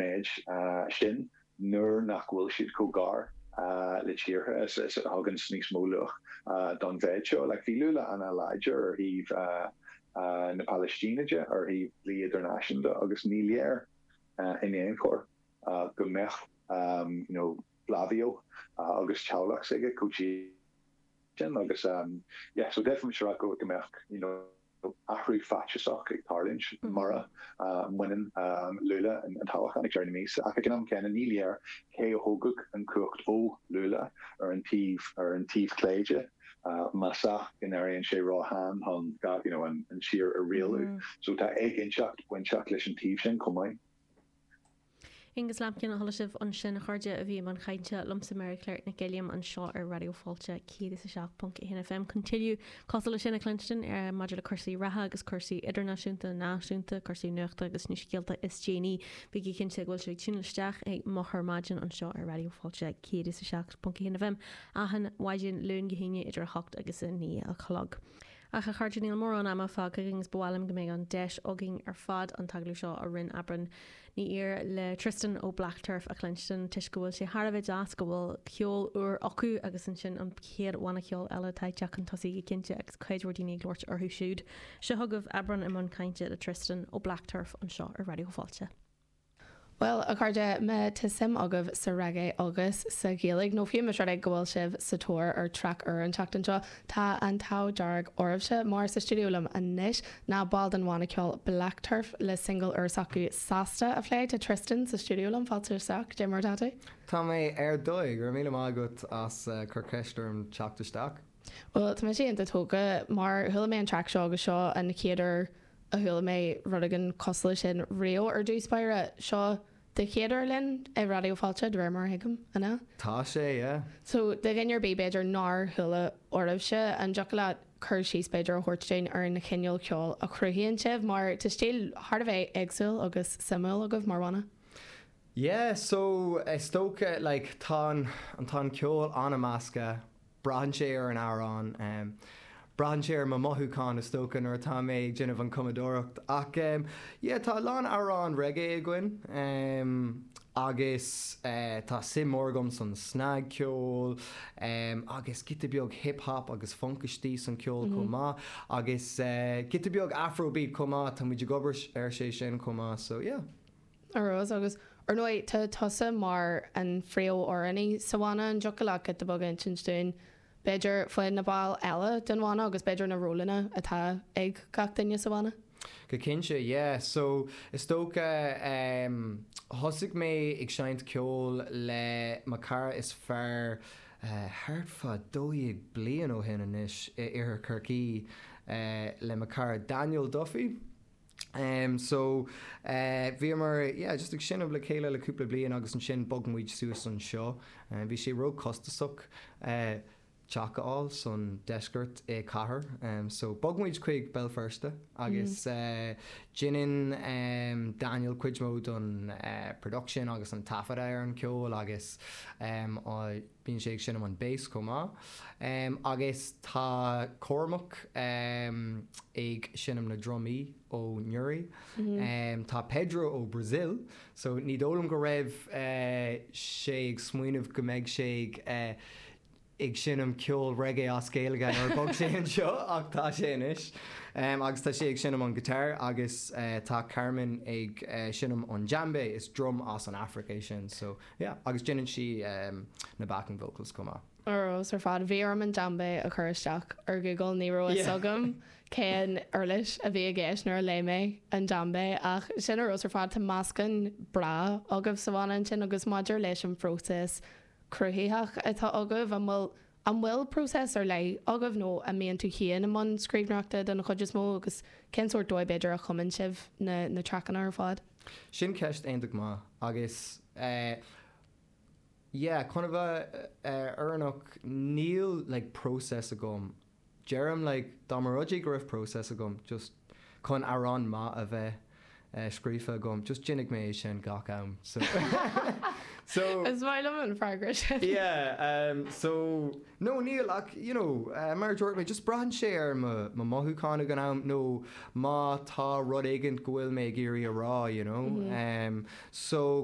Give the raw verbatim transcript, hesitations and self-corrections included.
méid uh, sin nuair nach bhfuil siad chomh gar uh, le tíortha is is a thugann níos mó luach uh, don mhéid seo like bhí Lula an-láidir ar thaobh uh, uh, na Palaistíne de ar thaobh dlí idirnáisiúnta agus ní léir uh, in aon chor uh, go mbeadh um, you know, Flavio uh, agus teaghlach aige chomh sin agus um, yeah, so definitely sure go go mbeadh you know, athrú faitíosach ag tarlúint mm. mura uh, mbaineann um, Lula an, an toghchán ag deireadh na míosa ach ag an am céanna ní léir cé a thógfadh an chumhacht ó Lula ar an taobh ar an taobh clé de uh, más ea go n-éiríonn sé róshean chun you know, an, an tír a rialú mm. so tá éiginnteacht bainteach leis an taobh sin chomh maith. Angus Lampkin a chuala sibh ansin a chairde a bhí i mbun cainte liomsa Mary Claire Nic Gilliam anseo ar Raidió Fáilte céad is a seacht ponc a haon FM chun tuilleadh cosúil le sin a chluinstin ar maidir le cúrsaí reatha agus cúrsaí idirnáisiúnta náisiúnta cúrsaí nuachta agus na scéalta is déanaí bígí cinnte go bhfuil sibh ag tiúnáil isteach ag Moch ar Maidin anseo ar Raidió Fáilte céad is a seacht ponc a haon FM achan mhaidin Luan go hAoine idir a hocht agus a naoi a chlog. Ach a chairde níl mórán ama fágtha agus ba mhaith liom go mbeidh an deis againn ar fad an t-agallamh seo a rinne Aibreán Ní Ír le Tristan ó Black Turf a chluinstin toisc go bhfuil sé thar a bheith deas go bhfuil ceol úr acu agus ansin an chéad bhanna ceoil eile atá ag teacht chun tosaigh go cinnte agus cuid mhór daoine ag labhairt orthu siúd. Seo chugaibh Aibreán i mbun cainte le Tristan ó Black Turf anseo ar Raidió Fáilte. Well a chairde má tá suim agaibh sa reggae agus sa Ghaeilge nó fiú más rud é go bhfuil sibh sa tóir ar traic úr an tseachtain seo tá an t-ádh dearg oraibhse mar sa stiúideo liom anois ná ball den bhanna ceoil Black Turf le single úr s'acu Sásta a phlé tá Tristan sa stiúideo liom fáilte isteach Dé mar atá tú? Tá mé ar dóigh gur míle maith agat as uh, cur ceist orm teacht isteach. Well tá mé iontach tógtha mar chuala mé an traic seo agus seo an chéad uair a chuala mé rud éigin cosúil sin riamh ar dtús báire seo do chéad uair linn i Raidió Fáilte de réir mar a thuigim an ea? Tá sé yeah. So do dhuine ar bith b'fhéidir nár chuala oraibhse an dtiocfadh leat cur síos b'fhéidir a thabhairt dúinn ar an chineál ceoil a chruthaíonn sibh mar tá stíl thar a bheith éagsúil agus suimiúil agaibh mar bhanna. Yeah, so is dócha like tá an tá an ceol an-mheasctha braitheann sé ar an amhrán um, braitheann sé ar mo mhothúchán is dócha nuair atá mé ag déanamh an cumadóireacht ach um, yeah, tá lán amhrán reggae againn um, agus uh, tá suim mór agam san snagcheol um, agus giota beag hip-hop agus funk istigh san ceol mm -hmm. chomh maith agus uh, giota beag afrobeat chomh maith tá muid ag obair ar sé sin chomh maith so yeah. Arós agus ar ndóigh tá tusa mar an phríomhamhránaí sa bhanna an dtiocfadh leat giota beag insint dúinn b'fhéidir faoi na baill eile den bhanna agus b'fhéidir na rólanna atá ag gach duine sa bhanna. Go cinnte, yeah. So is dócha um, thosaigh mé ag seinnt ceol le mo chara is fearr uh, thart fá dó dhéag bliain ó shin anois i iarthar Chorcaí uh, le mo chara Daniel Duffy. Um, so uh, bhíomar yeah, just ag seinm le chéile le cúpla bliain agus ansin bhog muid suas anseo. Uh, bhí sé ró-chostasach uh, teach a fháil san deisceart i cathair. Um, so bhog muid chuig Béal Feirste agus mm. uh, déanann um, Daniel cuid mó don uh, production agus an taifead ar an ceol agus um, bíonn sé ag seinm an bass chomh maith. Um, agus tá Cormac um, ag seinm na drumaí ó Newry. Mm -hmm. um, tá Pedro ó Brazil, so ní dóigh liom go raibh uh, sé ag smaoineamh go mbeidh sé ag uh, ag seinm ceol reggae as Gaeilge nuair bhog sé anseo ach tá sé anois. Um, agus tá sé ag seinm an guitar agus uh, tá Carmen ag uh, seinm an djembe is drum as an Afraic é sin so yeah, agus déanann sí um, na backing vocals chomh maith. Arós ar fad bhí orm an djembe a chur isteach ar Google ní raibh Yeah. agam cén uirlis a bhí i gceist nuair a léigh mé an djembe ach sin arós ar fad tá meascán breá agaibh sa bhanna sin agus maidir leis an phróiseas cruthaitheach atá agaibh an bhfuil an bhfuil próiseas ar leith agaibh nó an mbíonn tú féin i mbun scríbhneoireachta den chuid is mó agus cén sórt dóigh b'fhéidir a chumann sibh na, na traiceanna ar fad. Sin ceist iontach maith agus uh, yeah, chun a bheith uh, fírinneach níl like process agam. Deirim like dá mba rud é go raibh process agam just chun amhrán maith a bheith uh, scríofa agam just déanfaidh mé é sin gach am so so Is maith liom an freagra sin. yeah um, so no níl ach you know uh, mar dúirt mé just braitheann sé ar mo mo mhothúchán ag an am nó má tá rud éigin go bhfuil mé ag iarraidh a rá you know mm -hmm. um, so